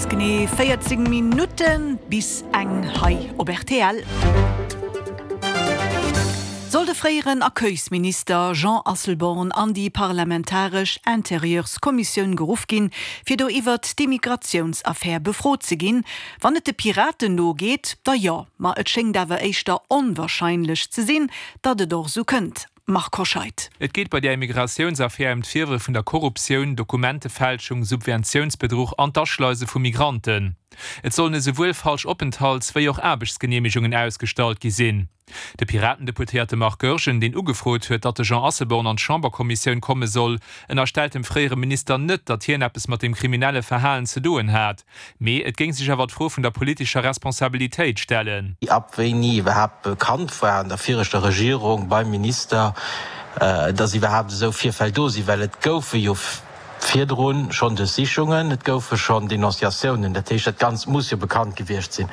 ganz genee 14 Minutte bis eng hei op rtl. Soll de fréieren Accueilsminister Jean Asselborn an déi parlamentaresch Interieurskommissioun geruff ginn, fir do iwwert d'Immigratiounsaffär befrot ze ginn? Wann et de Piraten no geet, da jo, ma et schéngt awer éischter onwarscheinlech ze sinn, datt et och esou kënnt. Marc Hoscheid. Et geet bei där Immigratiounsaffär ëm d'Virwërf vun der Korruptioun, Dokumentefälschung, Subventiounsbedruch an d'Aschleise vu Migranten. Et sollen esouwuel falsch Openthalts wéi och Aarbechtsgeneemegungen ausgestallt gi sinn. De Piraten-Deputéierte Marc Goergen, deen ugefrot huet, datt de Jean Asselborn an d'Chamberkommissioun komme soll, ënnerstellt dem fréiere Minister net, datt hien eppes mat dem kriminelle Verhalen ze doen hat. Mee et géing sech awer d'Fro vun der politescher Responsabilitéit stellen. Ab wéini iwwerhaapt bekannt war an der viregter Regierung beim Minister, datt iwwerhaapt esou Virfäll do sinn, well et goufe jo virdru schonn Duerchsichungen, et goufe schonn Denonciatiounen, dat heescht dat Ganzt muss jo bekannt gewiescht sinn.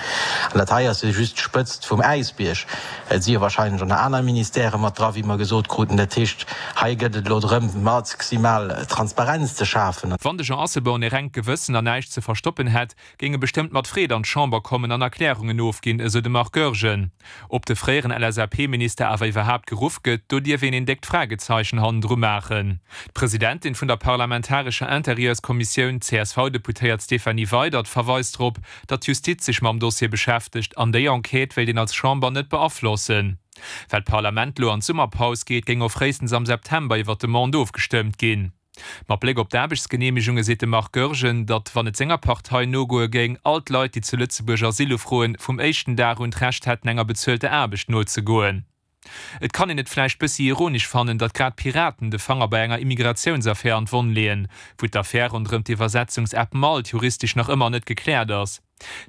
An dat hei ass jo just d'Spëtzt vum Äisbierg. Et si jo wahrscheinlech och nach aner Ministèrë mat dra, wéi mer gesot kruten. Dat heescht, hei gëtt et elo drëm, maximal Transparenz ze schafen. Wann de Jean Asselborn e rengt Gewëssen an näischt ze verstoppen hätt, géing e bestëmmt mat Freed an d'Chamber kommen an Erklärungen ofginn, esou de Marc Goergen. Ob de fréieren LSAP-Minister awer iwwerhaapt geruff gëtt, do dierf een een déckt Fragezeichen hannendru maachen. D'Presidentin vun der parlamentarescher Interieurskommissioun, d'CSV-Deputéiert Stéphanie Weydert, verweist drop, datt d'Justiz sech mam Dossier beschäftegt an déi Enquête wéilt een als Chamber net beaflossen. Well d'Parlament lo an d'Summerpaus geet, géing och fréistens am September iwwer d'Demande ofgestëmmt ginn. Mat Bléck op d'Aarbechtsgeneemegunge seet de Marc Goergen, datt, wann et senger Partei nogoe géing, all d'Leit, déi zu Lëtzebuerg Asyl ufroen, vum éischten Dag un d'Recht hätten enger bezuelter Aarbecht nozegoen. Et kann een et vläicht bëssi ironesch fannen, datt grad d'Piraten de Fanger bei enger Immigratiounsaffär an d'Wonn leeën, wou d'Affär ronderëm d'Iwwersetzungsapp Malt juristesch nach ëmmer net gekläert ass.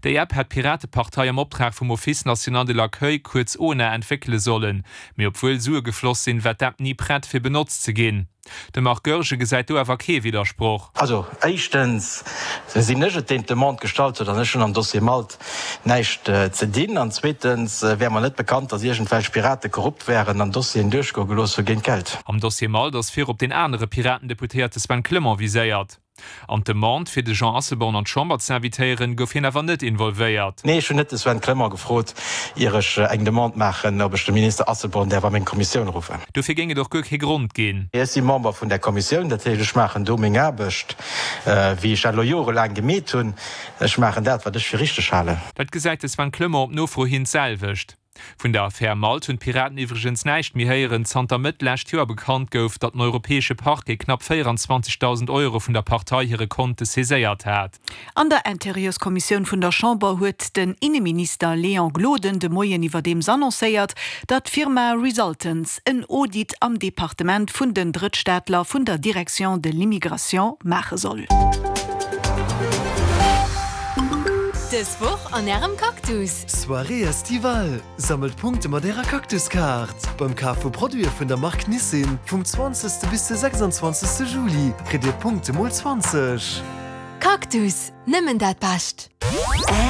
Déi App hätt d'Piratepartei am Optrag vum Office national de l'accueil, kuerz ONA, entwéckele sollen. Mee obwuel Sue gefloss sinn, war d'App ni prett fir benotzt ze ginn. De Marc Goergen gesäit do awer kee Widdersproch. Also éischtens sinn ech et, deen d'Demande gestallt huet, an ech hunn am Dossier Malt näischt ze dinn. An zweetens wär mer net bekannt, datt iergendwelch Pirate korrupt wären an Dossieren duerchgoe gelooss hu géint Geld. Am Dossier Malt ass virop deen anere Piraten-Deputéierte Sven Clement viséiert. An d'Demande, fir de Jean Asselborn an d'Chamber ze invitéieren, gouf hien awer net involvéiert. Nee, ech hunn net de Sven Clement gefrot, ier ech eng Demande maachen, ob ech de Minister Asselborn däerf a meng Kommissioun ruffen. Dofir géing et och guer kee Grond ginn. Ech si Member vun där Kommissioun, dat heescht, ech maachen do meng Aarbecht, wéi ech dat elo jorelaang gemeet hunn. Ech maachen dat, wat ech fir richteg halen. Dat gesäit de Sven Clement op Nofro hin d'selwecht. Vun der Affär Malt hunn d'Piraten iwwregens näischt méi héieren, zanter Mëtt lescht Joer bekannt gouf, datt den europäesche Parquet knapp 24.000 Euro vun der Partei hire Konte saiséiert hat. An der Interieurskommissioun vun der Chamber huet den Inneminister Léon Gloden de Moien iwwerdeems annoncéiert, datt d'Firma Resultants en Audit am Departement vun den Drëttstaatler vun der Direction de l'immigration maache soll. Dës Woch an Ärem Cactus! Soirée Estivale, Sammelt Punkte mat ärer Cactus-Kaart! Beim Kaf vu Produite vun der Mark Nissin vum 20. bis de 26. Juli kritt dir Punkte mol 20. Cactus, nëmmen dat Bescht!